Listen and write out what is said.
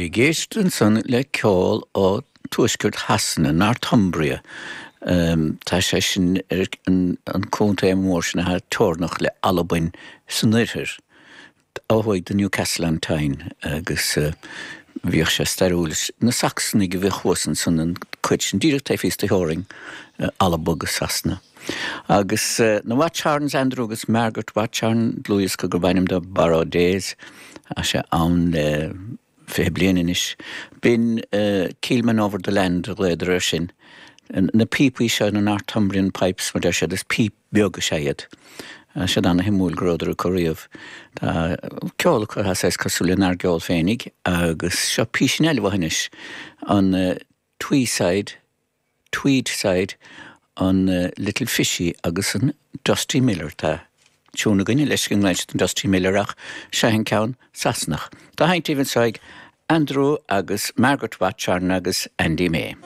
Ag éisteacht ansan le ceol ó tuaisceart Shasana, Northumbria. Tá sé sin ar an contae mór sin atá teorannach le Albain san oirthear, ó thuaidh de Newcastle on Tyne agus bhíodh sé stairiúil. Na Sacsanaigh a bhíodh thuas ansan an cuid sin, díreach taobh thíos de theorainn Alba agus Sasana. Agus na Watchorns, Andrew agus Margaret Watchorn, dlúthdhiosca gurb ainm dó Borrowed Days, tá sé ann le 20 bliain anois. B'in Keelmen Over the Land a ghlaodar air sin. Na píopaí seo, na Northumbrian Pipes mar deir siad, is píp bheag is ea iad. Tá siad ana-shuimiúil go rabhadar acu riamh. Tá ceol acu atá saghas cosúil lenár gceol féinig agus seo písín eile uathu anois, an Tweeside, Tweedside, an Little Fishy agus an Dusty Miller. Tá tiún againne leis go nglaonn siad an Dusty Miller ach seo an ceann Sasanach. Dá sheinnt daoibh anseo ag Andrew agus Margaret Watchorn agus Andy May.